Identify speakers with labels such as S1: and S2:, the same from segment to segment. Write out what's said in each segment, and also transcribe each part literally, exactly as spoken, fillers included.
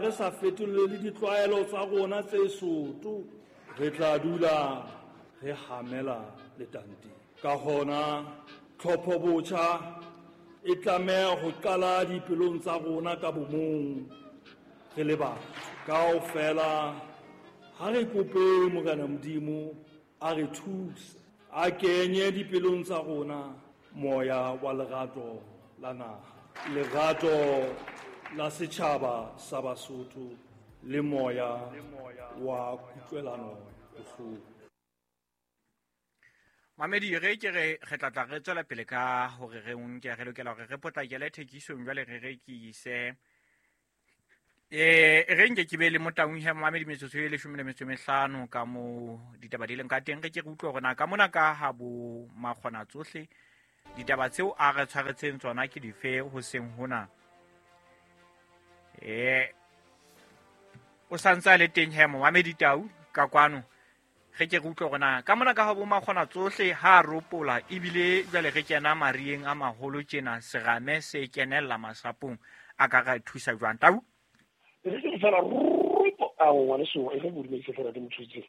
S1: re sa fetole le ditlwaelo tsa rona tse soto, re tla dula re hamela letanteng. Ka hona tlhopho botjha e tlameha ho qala dipelong tsa rona ka bomong re le batho. Kaofela ha re kope Morena Modimo a re thuse, a kenye dipelong tsa rona moya wa lerato la naha, lerato la setjhaba sa Basotho le moya wa kutlwelano bohloko.
S2: Mamedi re ke re re tla tla re tswela pele ka hore re nke re lokela hore re potlakele thekisong jwale re rekise. Eh re nke ke be le Motaung he Mamedi metsotso e leshome le metso e mehlano ka mo ditaba di leng ka teng. Re ke re utlwe hore na ka mona ka ha bo makgona tsohle ditaba tseo a re tshwaretseng tsona ke dife ho seng hona. Eh o santse a le teng he Mamedi Tau ka kwano. Re ke re utlwe hore na ka mona ka ha bo makgona tsohle ha ropola ebile jwale re kena marieng a maholo tjena serame se kenella masapong a ka re thusa jwang Tau?
S3: Re ke fela rupo a ngwana so e re bodumedi fela ke motho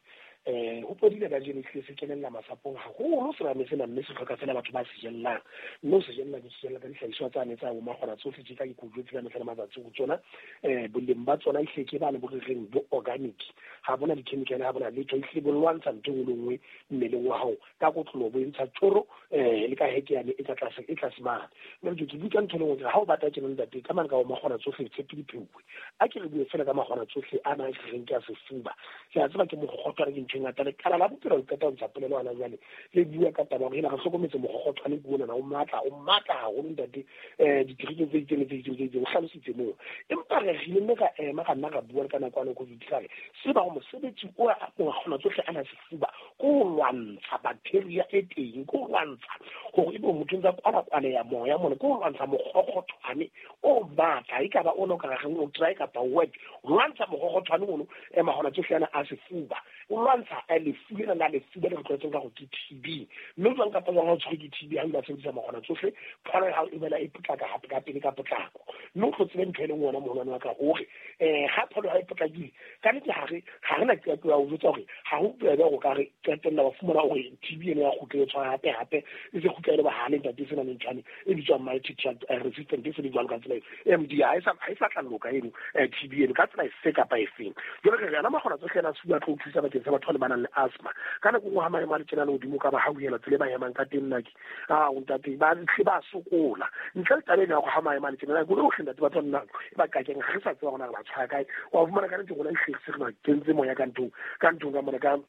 S3: eh ho podile ka jeno se se kenella masapong haholo serame sena mme se hloka fela batho ba se jellang mme o se jella ke se jella ka dihlahiswa tsa ne tsa bo makgona tsohle tse ka dikujo tse ka mehla le matsatsi ho tsona eh boleng ba tsona e hleke ba le bo reng bo organic ha bona di-chemical ha bona letho e hle bo lwantsha ntho e nngwe le nngwe mmeleng wa hao ka kotlolo bo entsha tjoro eh le ka heke yane e tla tlase e tlase mane. Mme ke ke bua ka ntho e le nngwe ha o batla tjena ntate ka mane ka bo makgona tsohle tshepe dipheuwe a ke re bue fela ka makgona tsohle a na re reng ke a sefuba ke a tseba ke mokgothwane ke ntho e ngata lekala la bophelo le qeta ho ntsha polelo hona jwale le bua ka taba hore ena re hlokometse mokgothwane ke ona o matla o matla haholo ntate eh ditereke tse itseng le tse itseng tse itseng o hlalositse moo empa re rile mme ra ema ra nna ra bua le ka nako ya COVID ka re se ba go mosebetsi o a makgona tsohle a na sefuba ko ho lwantsha bacteria e teng ko ho lwantsha hore ebe motho ntsa kwala kwala ya moya mona ko ho lwantsha mokgothwane o matla e ka ba ona o ka reng o try kapa wet lwantsha mokgothwane ono e makgona tsohle ana a sefuba o lwantsha a lefu lena la lefuba le re tlwaetseng ka go ke T B mme jwang kapa jwang ha o tshwerwe ke T B ha o ile wa sebedisa makgona tsohle pholo ya hao e boela e potlaka hape ka pele ka potlako mme o tlo tsebe ntho e leng wona moholwane wa ka hore um ha pholo ya hao e potlakile ka nnete ha re ha re na qeto ya ho jwetsa hore ha ho bobebe hore o ka re qetella wa fumana hore T B ena ya kgutla e tshwara hape hape e se kgutla e le bohale ntate e se nang le nthwane e bitswang multi-drug resistant e se le jwalo ka tsela eo M D ha e sa ha e sa tla loka eno T B eno ka tsela efe kapa efeng. Jwale re re ana makgona tsohle ana a sefuba a tlo o thusa bakeng sa batho ba le ba nang le asthma ka nako nngwe ha maemo a le tjena le hodimo ka ba hauhela tsela e ba emang ka teng nna ke a o ntate ba tle ba sokola ntle le taba ena ya hore ha maemo a le tjena nako yohle ntate batho ba nna e ba kakeng ga re sa tseba hore na re ba tshwara kae wa fumana ka nnete rona ehlile se re ba kentse moya ka nthong ka nthong ka mona ka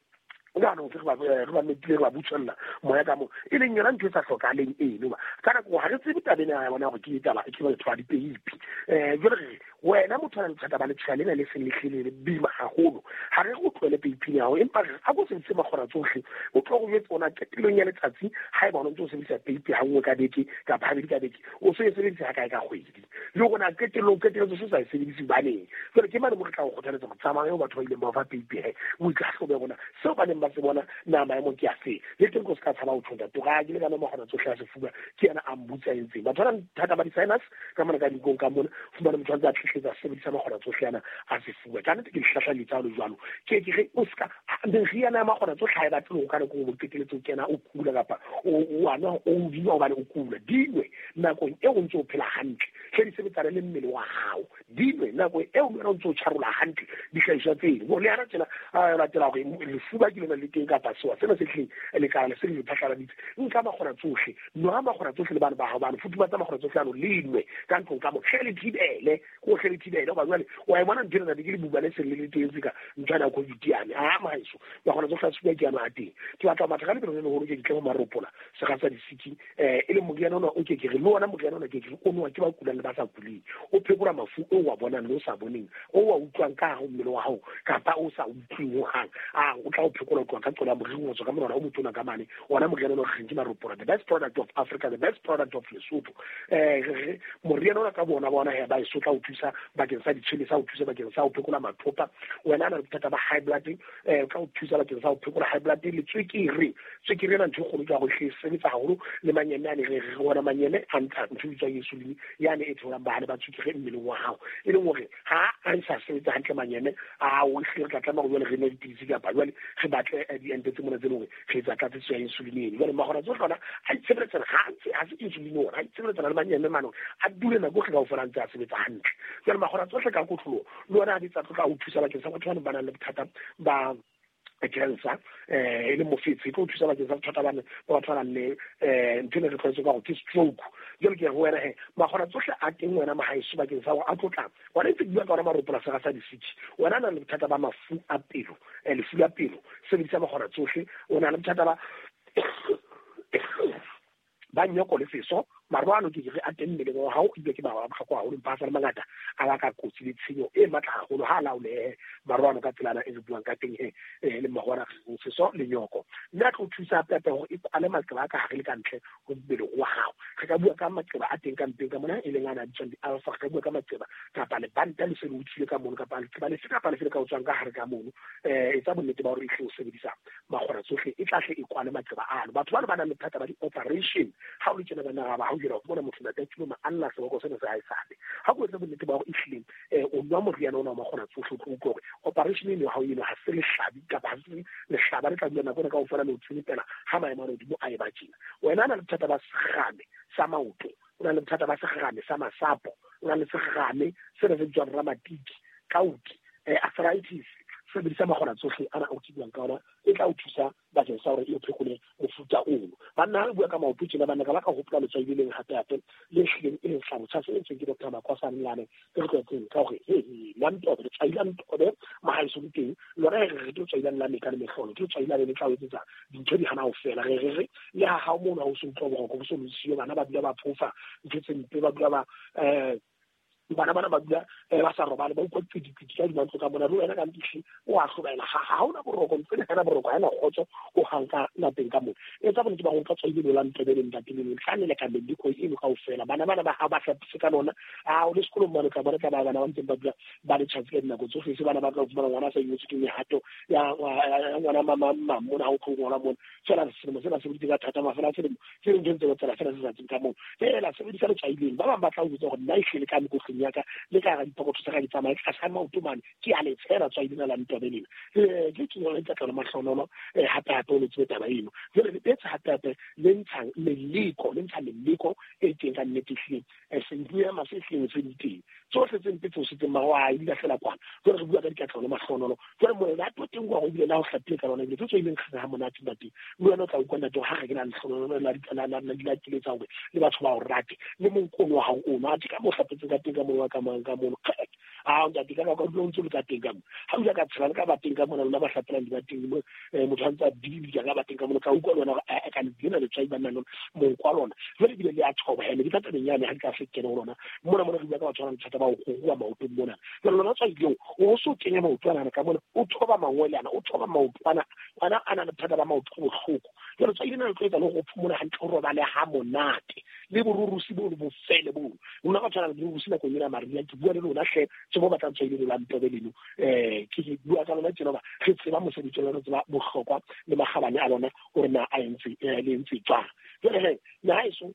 S3: jaanong re ba re ba metile re ba butswella moya ka mo e leng yona ntho e sa hlokahaleng eno ba ka nako ha re tsebe taba ena ya bona hore ke taba ke batho ba dipeipi eh jwale re wena motho a nang le bothata ba letshwao lena le seng le hlile le boima haholo ha re go tlohele peiping ya hao empa re a ko sebedise makgona tsohle o tlo go jwetsa ona qetellong ya letsatsi ha eba o ntse o sebedisa peipi ha nngwe ka beke kapa habedi ka beke o so e sebedisa ha kae ka kgwedi le hore na qetellong qetellong se sa e sebedise hobaneng. Jwale ke mane mo re tla go kgothaletsa go tsamaya eo batho ba ileng ba o fa peipi he o itlhahlobe hore na seo ba neng ba se bona na maemo ke a fe le teng ko se ka tshaba ho tjho ntate ga ke le kana makgona tsohle a sefuba ke yena a mbutsa entseng batho ba nang thata ba di-sinus ka mona ka dinkong ka mona fumana motho a ntse a tletletsa sebedisa makgona tsohle ana a sefuba ka nnete ke dihlahla letsa le jwalo ke ke re o ska meriana ya makgona tsohle ha e batle ho ka nako o qeteletse o kena o kula kapa o a nwa o dinwa hobane o kula dinwe nakong eo o ntse o phela hantle hle di sebetsana le mmele wa hao dinwe nako eo wena o ntse o tjharola hantle dihlahiswa tseno le hana tjena a latela hore lefuba ke lona le teng kapa sewa sena se hleng lekala se le phatlaladitse nka makgona tsohle nwa makgona tsohle le bana ba hao bana futhumatsa makgona tsohle ano le nwe ka ntlong ka mo hle le thibele ko hle le thibele hoba jwale wa e bona ntho ena ke le buba le seng le le teng ka ntho ena ya COVID yane a maheso makgona tsohle a sefuba ke ano a teng ke batla ho matha ka lebelo le leholo ke ke tle ho maropola sega sa disiki eh e leng moriana ona o ke ke re le ona moriana ona ke ke re o nowa ke ba kulang le ba sa kuleng o phekola mafu o wa bonang le o sa boneng o wa utlwang ka hare ho mmele wa hao kapa o sa utlweng hohang a o tla o phekola phekola ho tloha ka qola moriri ho tswa ka monwana o motona ka mane ona moriana o reng ke maropola, the best product of Africa, the best product of Lesotho. Eh moriana ona ka bona bona he ba e sotla ho thusa bakeng sa ditshwele sa ho thusa bakeng sa ho phekola mathopa. Wena na le bothata ba high blood, eh ka ho thusa bakeng sa ho phekola high blood le tswekere. Tswekere ena ntho e kgolo ka go hle sebetsa haholo le manyeme ane re re ona manyeme a ntsha ntho e bitswang insulin yane e tholang bahale ba tswekere mmeleng wa hao, e leng hore ha a sa sebetsa hantle manyeme a o hle re tla tlameha hore jwale re nwe dipidisi kapa jwale re batle diente tse mona tse leng hore re etsa tlatsetso ya insulin eno. Jwale magora tsohle ona a itshebeletsana ha ntse ha se insulin ona a itshebeletsana le manyeme mane a dule nako e kaofela a ntse a sebetsa hantle. Jwale magora tsohle ka kotloloho le ona a di tsa tlo tla o thusa bakeng sa batho ba ba nang le bothata ba cancer eh e le mofetshe, e tlo thusa bakeng sa bothata ba ba batho ba nang le eh ntho e re tlwaetse ka gore ke stroke. Jwale ke re ho wena he magora tsohle a teng wena mahaeso bakeng sa hore a tlo tla wena ntse ke bua ka ona maropola sera sa disiki. Wena na le bothata ba mafu a pelo, eh lefu la pelo, sebedisa magora tsohle. O na le bothata ba ba nyoko le seso marwano ke re a teng mmeleng wa hao ebile ke ba bohlokwa haholo empa a sa le mangata a baka kotsi le tshenyo e matla haholo ha a laolehe marwano ka tselana e re buang ka teng he le magora seso le nyoko. Mme a tlo thusa hape hape hore e kwale maqeba a ka hare le ka ntle ho mmele wa hao. Re ka bua ka maqeba a teng ka mpeng ka mona e leng ana a bitswang di-alpha, re ka bua ka maqeba kapa lebanta le se le utswile ka mono kapa leqeba lefe kapa lefe le ka o tswang ka hare ka mono. Eh etsa bonnete ba hore e hle o sebedisa magora tsohle e tla hle e kwale maqeba ano. Batho bano ba nang le bothata ba di-operation ha o le tjena bana ba hao jela bona motho ntate tshilo ma alla seboko sena se ha e sale ha go etsa bonnete ba hore ehlile eh o nwa moriana ona wa magora tsohle o tlo utlwa hore operation eno ha o eno ha se lehlabi kapa ha se lehlaba le tla dula nako ena kaofela le o tsenepela ha maemo a hodimo a e ba tjena. Wena o na le bothata ba serame sa maoto, o na le bothata ba serame sa masapo, o na le serame sena se bitswang ramatiki, kauti, eh arthritis, sebedisa magora tsohle ana o ke buang ka ona e tla o thusa bakeng sa hore e o phekole mofuta ono. Banna ha re bua ka maoto tjena banna ka ba ka hopola letswai le leng hape hape le hlileng e leng hlabotjha se entsweng ke Doctor Makwasane lane e re tlwaetseng ka hore he la ntobe letswai la ntobe mahaeso le teng lona re re ke letswai la la meka le mehlolo, ke letswai la le tla o etsetsa dintho di hana ho fela. Re re re le ha hao mono ha o se utlwa boroko bo so le siyo, bana ba dula ba phofa ntho tse mpe, ba dula ba eh bana bana ba dula ba sa robale ba utlwa qidipidi ka dimantlo ka mona le wena ka ntihle o a hlobaela ha ha hona boroko ntse ha hona boroko ha ena kgotso o hang ka lapeng ka mona. Etsa bonnete ba go nka tswaile lo la ntebe le ntate le tlane le ka mediko eno kaofela. Bana bana ba ha ba hlapise ka lona a o le sekolong mane ka bona ka ba bana ba ntseng ba dula ba le tjhatsi ka dinako tsohle se bana ba tla fumana ngwana sa ingwetswe ke mehato ya ngwana mama mama mona ha o tlo ngwana mona fela selemo sena se boditse ka thata mafela selemo se leng ntse tsela fela se sa tseng ka moo fela sebedisa letswaileng. Ba bang ba tla o jwetsa hore nna ehlile ka mekotleng ya ka le ka hara dipokotho tsa ka di tsamaya ka sa maoto mane ke a le tshela tswaile la ntobe lena eh ke ke yona tla mahlonolo eh hape hape o le tsebe taba eno. Jwale le betsa hape hape le ntshang meleko le ntsha meleko e teng ka nnete hleng eh senbuya masehleng se diteng tsohle tse mpe tseo se teng mara wa di lahlela kwana. Jwale re bua ka dikatlholo le mahlonolo. Jwale moena a tlo teng kwa go bile la ho hlapile ka lona ebile tse tswaileng kganga ha monate ntate le wena o tla utlwa ntate ha re ke na lehlonolo la la la la keletsa hore le batho ba o rate le monkgono wa hao ono a ka mo hlapetse ka teng ka mo ka mang ka mono a ntate ka ka dula o ntse le ka teng ka mo ha o ja ka tshela le ka ba teng ka mona lona ba hlapelang di ba teng mo motho a ntse a dibidika ka ba teng ka mona ka utlwa lona hore a ka lena letswai ba nna monko wa lona jwale ebile le a thoba ene ke tla tabeng yane ha di ka se kene ho lona mona mona re bua ka batho ba nang le bothata ba ho ruruha maotong mona. Jwale lona tswai leo o so kenya maoto ana ka mona o thoba mangwele ana o thoba maoto ana ana a na le bothata ba maoto a bohloko. Jwale tswai lena le tlo etsa le hore o phomole hantle o robale ha monate le borurusi bo bo fele bo lona ba tshwana le borurusi nakong ena mariha ke bua le lona hle tse bo batlang tswaile la ntobe leno eh ke bua ka lona tjena ba re tseba mosebetsi wa lona tseba bohlokwa le makgabane a lona hore na a entse le entse jwang. Jwale he nahaeso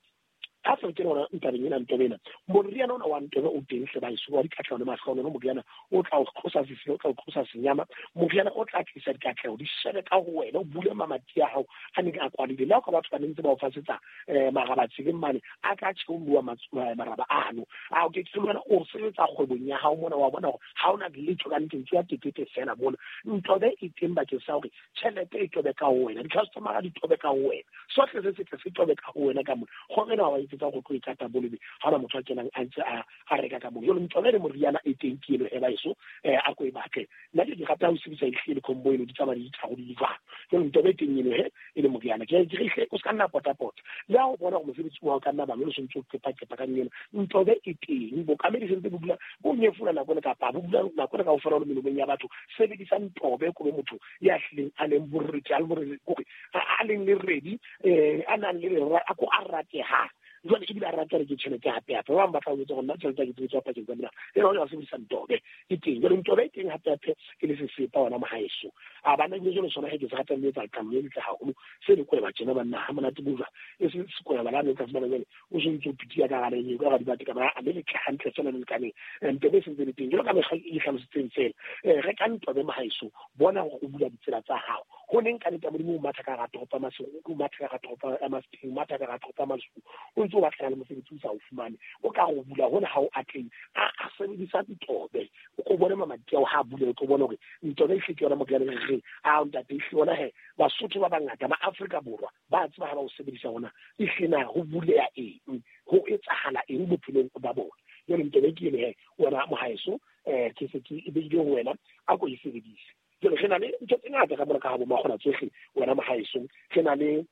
S3: ha se ke lona ntabeng ena ntobe ena moriana ona wa ntobe o teng hle baeso wa dikatleho le mahlonolo moriana o tla o tlosa sesilo o tla o tlosa senyama moriana o tla tlisa dikatleho di shebe ka ho wena o bule mamati a hao a neng a kwalile le ha ka batho ba neng ntse ba o fasetsa eh maraba tseleng mane a tla tjheolwa maraba ano a o ke ke lona o sebetsa kgwebong ya hao mona wa bona hore ha ona letho ka nteng tsa tekete fela mona ntobe e teng bakeng sa hore tjhelete e tobe ka ho wena di-customer di tobe ka ho wena sohle se setle se tobe ka ho wena ka mona kgwebo ena wa etsetsa go tlo e kata bolebe ha ona motho a kenang a ntse a a reka ka mono. Jwale ntobe le moriana e teng ke eno e baeso eh a ko e batle. Nna ke rata ho sebedisa ehlile combo eno di tsamaya di tharo di jwang. Jwale ntobe e teng eno he e le moriana ke ke re o ska nna pota pota le ha o bona gore mosebetsi wa ka nna ba lo sentse o qepa qepa ka eno ntobe e teng bokamedi sentse bo dula bo nyefola nako le kapa bo dula nako le kaofela le melomong ya batho. Sebedisa ntobe ko be motho ya hlileng a leng borreti a le borreti kore a leng le ready eh a nang le a ko a rateha. Jwale ebile a rata re ke tjhelete hape hape ba bang ba tla o etsa gore nna tjhelete ke tsebetsa pakeng tsa mina e re o sebedisa ntobe e teng. Jwale ntobe e teng hape hape e le sesepa wona mohaeso a bana ebile jwale sona he ke se ratang le etsa letlalo le letle haholo se le kweba tjena banna ha monate bojwa e se sekweba la ne ka fumana jwale o se ntse o pitia ka gare eo ka ga dibate ka ba a le letle hantle fela le lekaneng. Ntobe e sentse le teng jwalo ka mekgwa e hlalositseng fela re ka ntobe mohaeso bona gore o bula ditsela tsa gago go neng ka nete Modimo o matha ka ga toropo ya Maseru o matha ka ga toropo ya Maseru o matha ka ga toropo ya Maseru o ntse o batlana le mosebetsi o sa o fumane o ka go bula hona ha o atleng a a sebedisa ntobe o ko bone mamati ao ha a bule o tlo bona hore ntobe e hle ke yona moriana re re a ntate e hle yona he Basotho ba bangata ba Afrika Borwa ba tseba ha ba o sebedisa hona e hle na ho buleya eng ho etsahala eng bophelong ba bona. Jwale ntobe ke ene he wena mohaeso eh ke se ke e beile ho wena a ko e sebedise. Jwale re na le ntho tse ngata ka mona ka ha bo makgona tsohle wena mohaeso re na le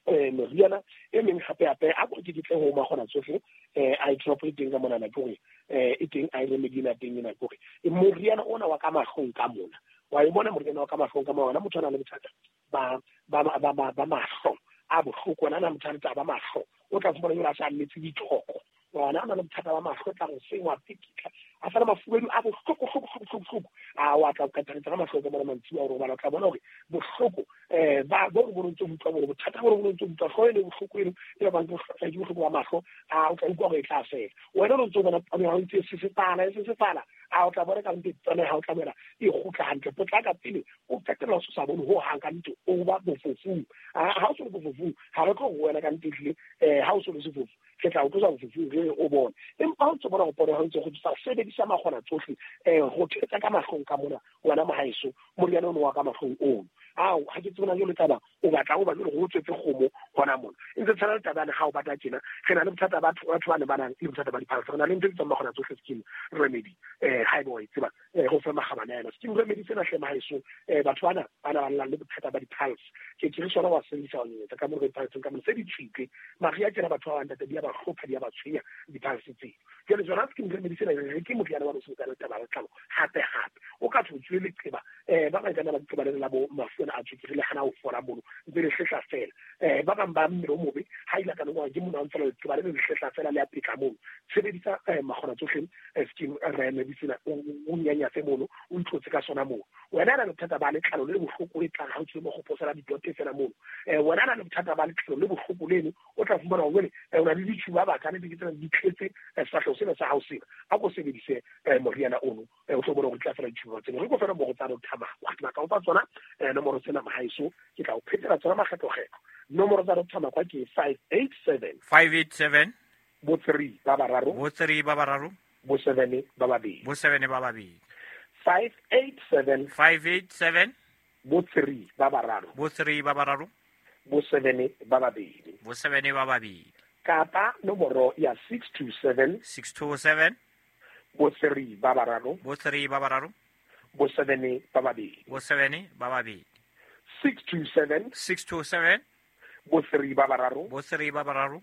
S3: eh meriana e meng hape hape a ko ke ditle ho makgona tsohle eh a drop e teng ka mona na ke hore eh e teng a e remedy na teng ena ke hore moriana ona wa ka mahlong ka mona wa e bona moriana wa ka mahlong ka mona wena motho a nang le bothata ba ba ba ba ba mahlo a bohloko wena na motho a ba mahlo o tla fumana jwale a sa mmetse dithoko wona a na le bothata ba mahlo tla go sengwa pikitla a sala mafubedu a bohloko hloko hloko hloko a wa tla qetelletsa ka mahloko bona mantsiwa hore bana tla bona hore bohloko eh ba bo bo ntse utlwa hore bothata bo bo ntse utlwa hloe le bohloko eno e ba bang ke bohloko ba mahlo a o tla utlwa hore e tla fela wena o ntse bona o ntse se se fala se se fala a o tla bona ka ntse tsone ha o tla bona e kgutla hantle potlaka pele o qetella o sa bone ho hang ka ntse o ba bofofung ha o se bofofung ha re tlo go wena ka ntse tle eh ha o se le sefofu ke tla o tlosa bofofung re o bone empa ha o ntse bona go pone ha o ntse go tsa sebedisa makgona tsohle eh go thetsa ka mahlong ka mona wena mohaeso moriana ono wa ka mahlong ono ao ha ke tsebona jalo taba o batla o ba jalo go tswetse kgomo hona mona e ntse tshwana le taba ya ha o batla tjena re na le bothata ba batho ba ne ba nang le bothata ba diphalsa re na le ntho e bitswang makgona tsohle skin remedy eh ha ebe wa e tseba eh go fa magabane yana skin remedy sena hle mohaeso eh batho bana ba na ba nang le bothata ba diphalsa ke ke re sona wa sebedisa wa nyetsa ka mo re diphalseng ka mona se di tshwitle maria tjena batho ba bang di a ba hlopha di a ba tshwenya diphalse tseo jwale tsona skin remedy sena re ke moriana wa sebetsa le taba ya letlalo hape hape o ka thwe tswe leqeba eh ba bang kana ba leqeba le la bo mafu a tswekere le hana ho fola mono ntse le hlehla fela eh ba bang ba mmele o mobe ha ile ka nngwe ke mona ntse le leqeba le le hlehla fela le a pitla mono sebedisa makgona tsohle skin remedy sena o nyanyatse mono o itlotse ka sona mono wena na le bothata ba letlalo le bohloko le tlang ha o tswe mo go posela didote fela mono eh wena na le bothata ba letlalo le bohloko leno o tla fumana hore o na le ditšhuba ba kana di tsena di tletse sefahleho sena sa hao sena a ko sebedise moriana ono o tlo bona go tla fela ditšhuba tseno re go fela mo go tsa Doctor Makwa ke batla o fa tsona nomoro tsena mohaeso ke tla o phetela tsona makgetlo-kgetlo nomoro tsa Doctor Makwa ke five eight seven
S2: five eight seven
S3: bo three ba bararo
S2: bo three ba bararo
S3: bo seven ba babedi
S2: bo seven ba babedi
S3: five eight seven
S2: five eight seven
S3: bo three ba bararo
S2: bo three ba bararo
S3: bo seven ba babedi
S2: bo seven ba babedi
S3: kapa nomoro ya six two seven
S2: six two seven
S3: bo three ba bararo
S2: bo three ba bararo
S3: bo seven ba babedi
S2: bo seven ba babedi
S3: six two seven
S2: six two seven
S3: bo three ba bararo
S2: bo three ba bararo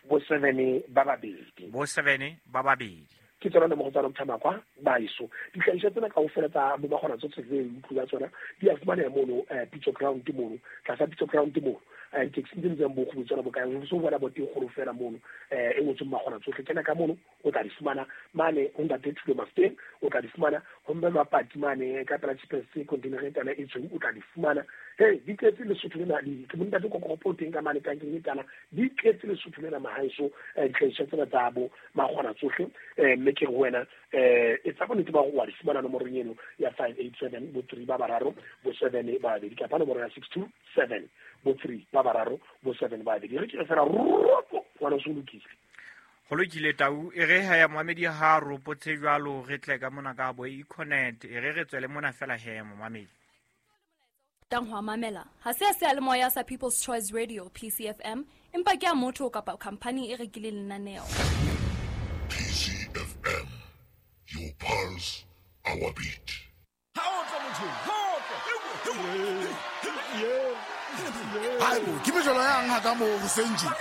S3: bo seven ba babedi
S2: bo seven ba babedi
S3: ke tsona nomoro tsa Doctor Makwa baeso dihlahiswa tsena kaofela tsa bo makgona tsohle tse utlwa tsona di a fumaneha mono Pitso Ground mono tlasa Pitso Ground mono taxi tse ntseng bo kgolo tsona bokae o so bona bo teng kgolo fela mono eh e ngotsweng makgona tsohle kena ka mono o tla di fumana mane ho ntate Thulo Mafeteng o tla di fumana ho mme Mapati mane ka pela G P S container e tana e tshweu o tla di fumana hey di tletse Lesotho lena di ke ntate Kokopo teng ka mane tankeng e tana di tletse Lesotho lena mahaeso dihlahiswa tsena tsa bo makgona tsohle eh mme ke go wena eh e tsa bonnete ba go wa di fumana nomorong eno ya five eight seven bo three ba bararo bo seven ba babedi kapa nomoro ya six two seven bo three ba bararo bo seven ba babedi re ke fela ropo wena o se lokile
S2: go lokile tau e re ha ya moamedi ha ropotse jwalo re tle ka mona ka bo Econet e re re tswele mona fela he momamedi.
S4: Qetang ho mamela ha se a seyalemoya sa People's Choice Radio P C F M, empa ke a motho kapa khampani e rekileng lenaneo.
S5: P C F M, your pulse, our beat.
S6: Haebo, ke mejolo yang ha ka mo hoseng tje.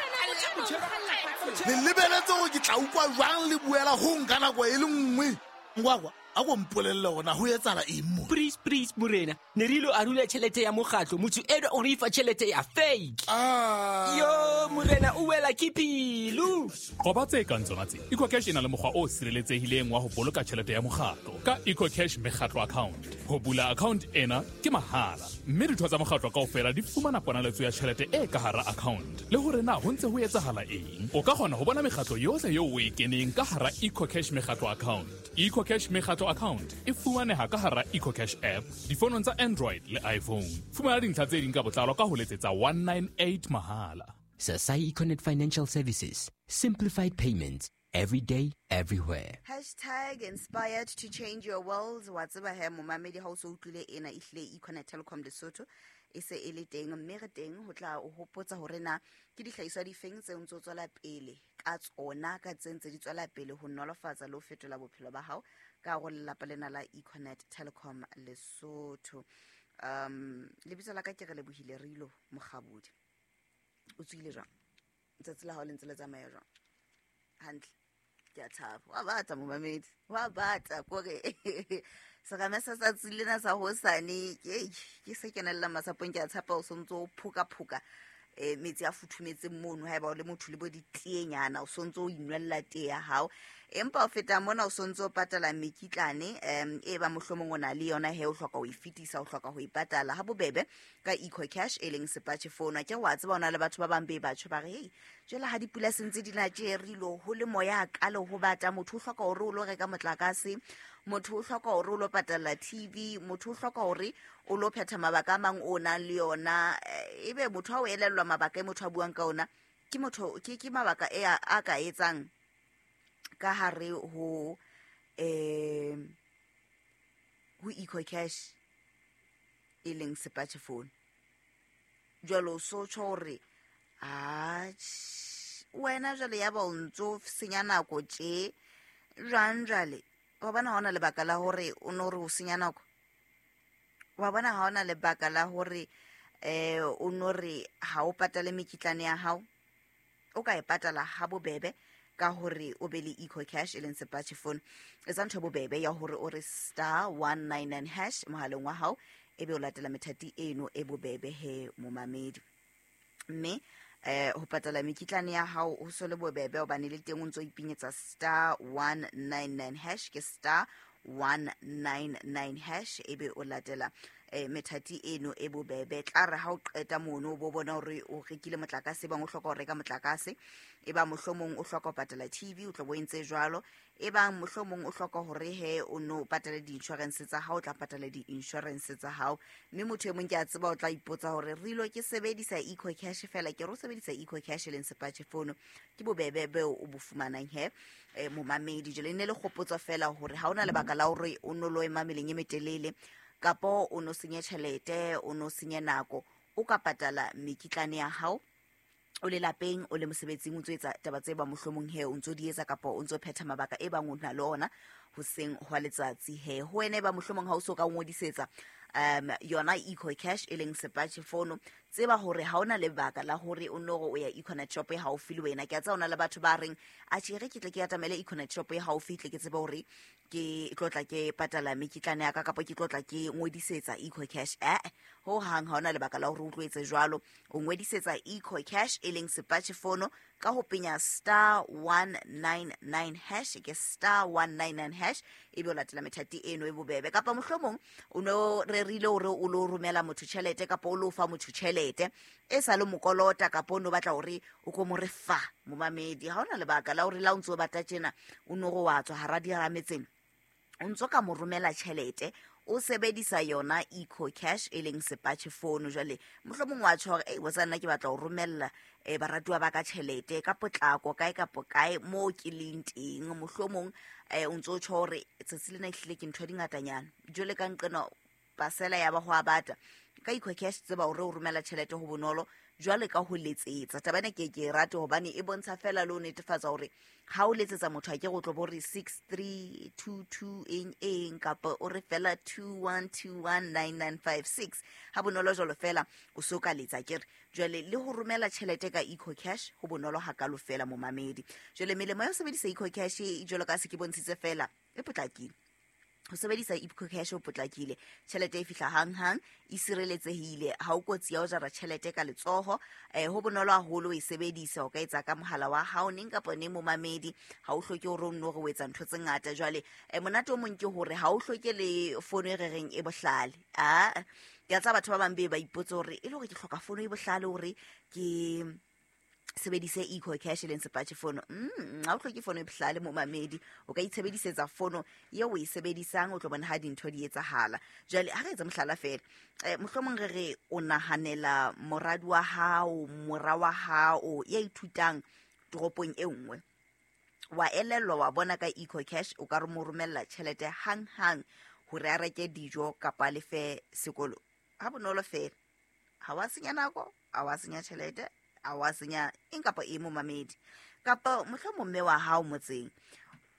S6: Le lebeletse hore ke tla utlwa jwang le buela ho nka nako e le nngwe. Ngwakwa, a go mpolelle hore ho etsahala eng mo?
S7: Please, please, morena. Ne re ilo arula tjhelete ya mokgatlo, motho eno o re fa tjhelete ya fake.
S6: Ah.
S7: Yo, morena o wela ke pelo.
S8: Qoba tse kang tsona tse. EcoCash e na le mokgwa o sireletsehileng wa ho boloka tjhelete ya mokgatlo ka EcoCash mekgatlo account. Ho bula account ena ke mahala, mme ditho tsa mokgatlo kaofela di fumana ponaletso ya tjhelete e ka hara account. Le hore na ho ntse ho etsahala eng. O ka kgona ho bona mekgatlo yohle eo o e keneng ka hara EcoCash mekgatlo account. EcoCash mekgatlo account e fumaneha ka hara EcoCash app difonong tsa Android le iPhone. Fumana dintlha tse ding ka botlalo ka ho letsetsa one nine eight mahala.
S7: Sasai Econet Financial Services. Simplified payments. Every day, everywhere.
S9: Hashtag inspired to change your world. Wa tseba he momamedi ha o so utlwile ena ehlile Econet Telecom Lesotho e se e le teng, mme re teng ho tla o hopotsa hore na ke dihlahiswa difeng tse ntse tswela pele ka tsona ka tse ntse di tswela pele ho nolofatsa le ho fetola bophelo ba hao ka go lelapa lena la Econet Telecom Lesotho. Um lebitso la ka ke re lebohile Rilo Mokgabudi. O tswile jwang? Letsatsi la hao le ntse le tsamaya jwang? Hantle. Ke a thaba. Wa bata momamedi. Wa bata kore serame sa tsatsi lena sa hosane ke ke se kenella masapong, ke a tshapa o sontso o phoka phoka eh metsi a futhumetseng mono haeba o le motho le bo ditienyana o sontso o inwella tee ya hao, empa o feta mona o sontso o patala mekitlane em e ba mohlomong o na le yona he o hloka ho e fetisa, o hloka ho e patala ha bobebe ka EcoCash e leng sepatjhe phone. Ke wa tseba ona le batho ba bang be batho ba re hey jwale ha dipula sentse di na tje rilo ho le moya ka le ho bata, motho o hloka hore o lo reka motlakase, motho o hloka hore o lo patala T V, motho o hloka hore o lo phetha mabaka a mang o nang le yona, ebe motho ha o elellwa mabaka e motho a buang ka ona ke motho ke ke mabaka e a ka etsang ka hare ho eh ho EcoCash e leng sepatjhe phone. Jwale o so tjho hore a wena jwale ya ba o ntso senya nako tje jwang jwale wa bona ha ona lebaka la hore o no re o senya nako, wa bona ha ona lebaka la hore eh o no re ha o patale mekitlane ya hao, o ka e patala ha bobebe ka hore o be le EcoCash e leng sepatjhe phone. Etsa ntho bobebe ya hore o re star one nine nine hash mohaleng wa hao ebe o latela methati eno e bobebe he momamedi. Mme eh ho patala mekitlane ya hao ho so le bobebe hobane le teng o ntso ipinyetsa star one nine nine hash, ke star one nine nine hash ebe o latela eh methati eno e bobebe. Tla re ha o qeta mono o bo bona hore o rekile motlakase, bang o hloka ho reka motlakase, e ba mohlomong o hloka ho patala T V o tlo bo entse jwalo, e bang mohlomong o hloka hore he o no patale di-insurance tsa hao, o tla patala di-insurance tsa hao. Mme motho e mong ke a tseba o tla ipotsa hore rilo ke sebedisa EcoCash fela, ke re o sebedisa EcoCash e leng sepatjhe phone, ke bobebe beo o bo fumanang he eh, momamedi. Jwale ne le kgopotso fela hore ha ona lebaka la hore o no lo ema meleng e metelele kapo o no senye tjhelete, o no senye nako, o ka patala mekitlane ya hao o le lapeng, o le mosebetsing, o ntso etsa taba tse ba mohlomong he o ntso di etsa kapa o ntso phetha mabaka e bang o na le ona hoseng hwa letsatsi he. Ho wena e ba mohlomong ha o so ka ngodisetsa um yona EcoCash e leng sepatjhe phone, tseba hore ha ona lebaka la hore o no o ya Econet shop e haufi le wena. Ke a tseba ona le batho ba reng a tjhe re ke tle ke atamele Econet shop e haufi tle ke tsebe hore ke tlotla ke patala mekitlane ya ka kapa ke tlotla ke ngodisetsa EcoCash. Eh ho hang ha ona lebaka la hore o tlo etse jwalo, o ngodisetsa EcoCash e leng sepatjhe phone ka ho penya star one nine nine hash, ke star one nine nine hash ebe o latela methati eno e bobebe. Kapa mohlomong o no rerile hore o lo romela motho tjhelete kapa o lo fa motho tjhelete e sa le mokolota kapa o no batla hore o ko mo re fa momamedi, ha ona lebaka la hore la o ntso batla tjena o no go wa tswa hara dirametseng o ntso ka mo romela tjhelete o sebedisa yona EcoCash e leng sepatjhe phone. Jwale mohlomong wa tjho hore ei wa nna ke batla ho romella eh baratuwa ba ka tjhelete ka potlako kae kapo kae mo ke leng teng, mohlomong eh o ntso tjho hore tsatsi lena ehlile ke ntho di ngatanyana jwale ka nqena dipasela ya ba ho a bata. Ka EcoCash tseba hore o romela tjhelete ho bonolo jwale ka ho letsetsa. Taba ena ke ke e rate hobane e bontsha fela le ho netefatsa hore ha o letsetsa motho a ke go tlo bo re six three two two eng eng kapa o re fela two one two one nine nine five six. Ha bonolo jwalo fela o so ka letsa ke re. Jwale le ho romela tjhelete ka EcoCash ho bonolo hakalo fela momamedi. Jwale melemo ya ho sebedisa EcoCash jwalo ka se ke bontshitse fela e potlakile. Ho sebedisa EcoCash ho potlakile, tjhelete e fihla hang-hang, e sireletsehile, ha o kotsi ya ho jara tjhelete ka letsoho. Eh ho bonolo haholo ho e sebedisa, o ka etsa ka mohala wa hao neng kapa neng momamedi, ha o hloke hore o nno re o etsa ntho tse ngata. Jwale eh monate o mong ke hore ha o hloke le fono e re reng e bohlale. Ah, ke a tsaba batho ba bang be ba ipotsa hore e le hore ke hloka fono e bohlale hore ke sebedise EcoCash leng sepatjhe fono. Mm, ha o hloke fono e bohlale momamedi, o ka itshebedisetsa fono eo o e sebedisang, o tlo bona ha dintho di etsahala. Jwale ha re etsa mohlala fela, eh mohlomong re re o nahanela moradi wa hao, mora wa hao ya ithutang toropong e nngwe, wa elellwa wa bona ka EcoCash o ka re mo romella tjhelete hang-hang hore a reke dijo kapa a lefe sekolo. Ha bonolo fela, ha wa senya nako, ha wa senya tjhelete, a wa senya eng kapa eng momamedi. Kapa mohlomong mme wa hao motseng,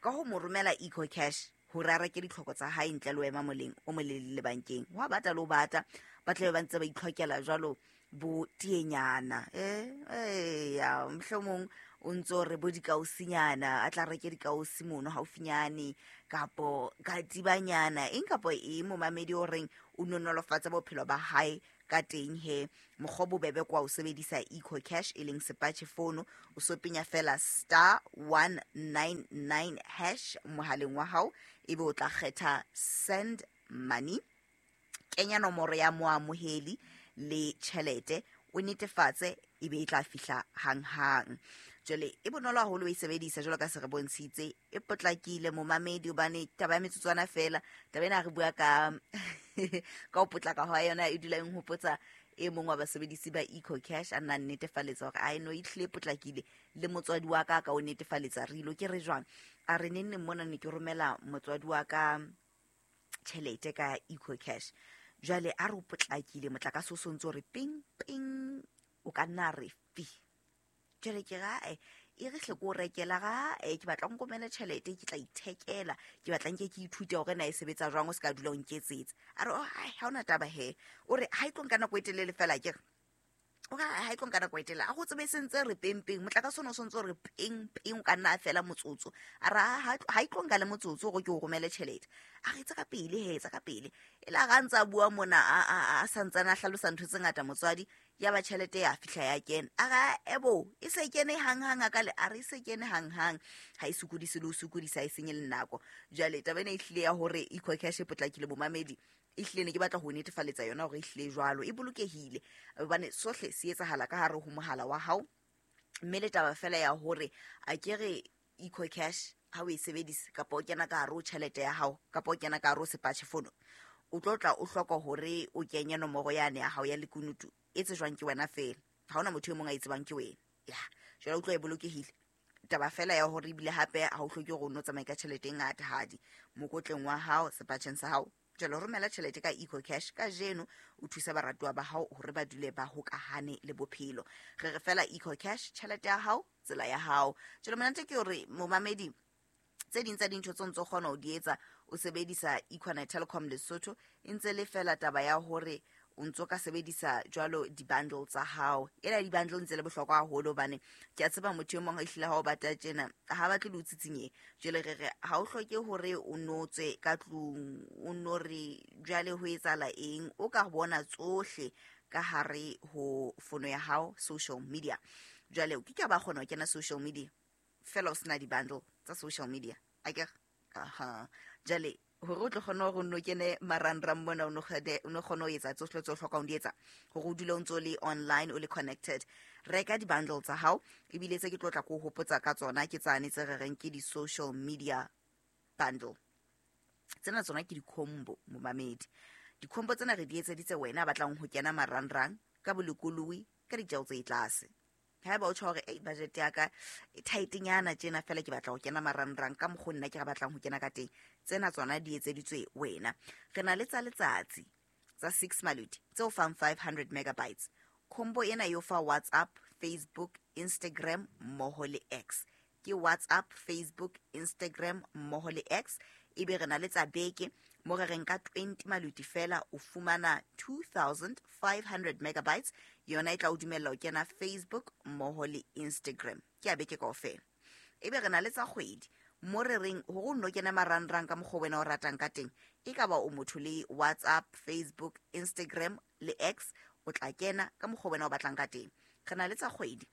S9: ka ho mo romela EcoCash hore a reke ditlhoko tsa hae ntle le ho ema moleng o molelele bankeng. Wa bata le ho bata, ba tlabe ba ntse ba itlhokela jwalo bo tienyana. Eh, eh, ya, mohlomong o ntso re bo dikausinyana, a tla reke dikausi mono haufinyane, kapo katibanyana, eng kapa eng momamedi o reng o nonolofatsa bophelo ba hae ka teng he. Mokgwa bobebe kwa o sebedisa EcoCash e leng sepatjhe fono, o so penya fela star one nine nine hash mohaleng wa hao, ebe o tla kgetha send money, kenya nomoro ya moamoheli le tjhelete, o netefatse ebe e tla fihla hang-hang. Jwale e bonolo haholo ho e sebedisa jwalo ka se re bontshitse, e potlakile momamedi hobane taba ya metsotswana fela. Taba ena re bua ka ka ho potlaka hwa yona e dula e nhopotsa e mong wa basebedisi ba EcoCash a nna netefaletsa hore a eno e hlile potlakile le motswadi wa ka ka o netefaletsa re ilo ke re jwang. A re neng neng mona ne ke romela motswadi wa ka tjhelete ka EcoCash. Jwale a re o potlakile motlakase o sontso re ping ping o ka nna re fi. Jwale ke ra e e re hle ko rekela ga e ke batla nkomela tjhelete ke tla ithekela, ke batla nke ke ithute hore na e sebetsa jwang, o se ka dula o nketsetsa. A re oh ha ona taba he, o re ha e tlo nka nako e telele fela ke re o ka ha e tlo nka nako e telele a go tsebe sentse re peng peng motlakase ono sontse re peng peng o ka nna fela motsotso. A re ha e tlo nka le motsotso hore ke o romele tjhelete. A re tsa ka pele he, tsa ka pele. E la ga ntsa bua mona a a santsana a hlalosa ntho tse ngata motswadi, ya ba tjhelete ya fihla ya kena. A ra ebo e se kene hang-hang a ka le a re se kene hang-hang, ha e sokodise le ho sokodisa, e senye le nako. Jwale taba ena e hlile ya hore EcoCash e potlakile momamedi, e hlile ne ke batla ho netefaletsa yona hore e hlile jwalo e bolokehile, hobane sohle se etsahala ka hare ho mohala wa hao. Mme le taba fela ya hore a ke re EcoCash ha o e sebedisa kapa o kena ka hare ho tjhelete ya hao kapa o kena ka hare ho sepatjhe fono, o tlo tla o hloka hore o kenye nomoro yane ya hao ya lekunutu e tsejwang ke wena fela, ha hona motho e mong a e tsebang ke wena. Ya jwale o tlo e bolokehile. Taba fela ya hore ebile hape ha o hloke hore o no tsamaye ka tjhelete e ngata hadi mokotleng wa hao sepatjheng sa hao. Jwale romela tjhelete ka EcoCash kajeno, o thusa baratuwa ba hao hore ba dule ba hokahane le bophelo. Re re fela EcoCash, tjhelete ya hao, tsela ya hao. Jwale monate ke hore momamedi, tse ding tsa dintho tse ntso kgona ho di etsa o sebedisa Econet Telecom Lesotho, e ntse le fela taba ya hore o ntso ka sebedisa jwalo di-bundle tsa hao. Ena di-bundle ntse le bohlokwa haholo hobane ke a tseba motho e mong a ehlile ha o batla tjena ha batle le o tsitsinye. Jwale re re ha o hloke hore o no tswe ka tlung, o no re jwale ho etsahala eng, o ka bona tsohle ka hare ho fono ya hao social media. Jwale o ke ke ba kgona ho kena social media fela o sena di-bundle tsa social media akere. Aha, jwale hore o tlo kgona hore o nno kene marangrang mona, o no kgone ho etsa tsohle tse o hlokang ho di etsa hore o dule o ntso le online, o le connected. Reka di-bundle tsa hao, ebile tse ke tlo tla ko hopotsa ka tsona ke tsane tse re reng ke di-social media bundle. Tsena tsona ke di-combo momamedi. Di-combo tsena re di etseditse wena a batlang ho kena marangrang ka bolokolohi ka ditjeo tse tlase. Haeba o tjho hore ei budget ya ka e tight-nyana tjena fela ke batla ho kena marangrang ka mokgo nna ke re batlang ho kena ka teng, tsena tsona di etseditswe wena. Re na le tsa letsatsi tsa six maluti tse o fang five hundred megabytes. Combo ena e o fa WhatsApp, Facebook, Instagram mmoho le X. Ke WhatsApp, Facebook, Instagram mmoho le X. Ebe re na le tsa beke mo re reng ka twenty maluti fela o fumana two thousand five hundred megabytes. Yona e tla o dumella ho kena Facebook mmoho le Instagram. Ke a beke kaofela. Ebe re na le tsa kgwedi mo re reng hore o nno kena marangrang ka mokgwa wena o ratang ka teng. E ka ba o motho le WhatsApp, Facebook, Instagram le X, o tla kena ka mokgwa wena o batlang ka teng. Re na le tsa kgwedi.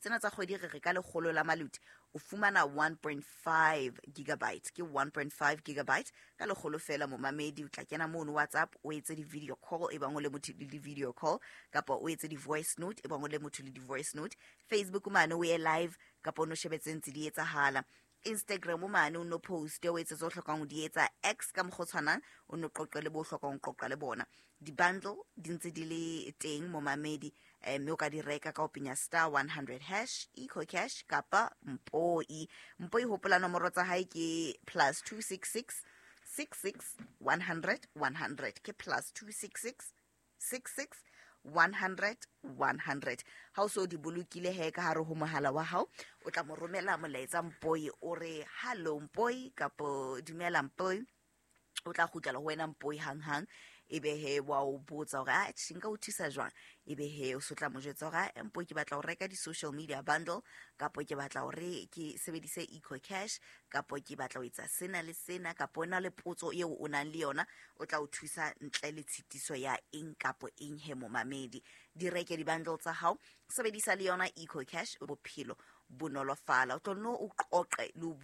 S9: Tsena tsa kgwedi re re ka lekgolo la maluti o fumana one point five gigabyte. Ke one point five gigabyte ka lekgolo fela momamedi. O tla kena mono WhatsApp o etse di-video call e bang o le motho le di-video call, kapa o etse di-voice note e bang o le motho le di-voice note. Facebook mane o ye live kapa o no shebe tse ntse di etsahala. Instagram mane o no post o etse tse o hlokang ho di etsa. X ka mokgwa o tshwanang o no qoqe le bo hlokang ho qoqa le bona. Di-bundle di ntse di le teng momamedi, eh, mme o ka di reka ka ho penya star one hundred hash EcoCash kapa Mpoi. Mpoi hopola nomoro tsa hae ke plus two six six six six one hundred one hundred. Ke plus two six six six six one hundred one hundred. Ha o so di bolokile he ka hare ho mohala wa hao, o tla mo romela molaetsa Mpoi o re hello Mpoi kapo dumela Mpoi. O tla kgutlela ho wena Mpoi hang hang. Ebe he wa o botsa hore a tjhe nka o thusa jwang. Ebe he o so tla mo jwetsa hore a Mpoi ke batla ho reka di-social media bundle, kapo ke batla hore ke sebedise EcoCash, kapo ke batla ho etsa sena le sena, kapo o na le potso eo o nang le yona, o tla o thusa ntle le tshitiso ya eng kapo eng he momamedi. Di reke di-bundle tsa hao, sebedisa le yona EcoCash, bophelo bo nolofala. O tlo nno o qoqe le o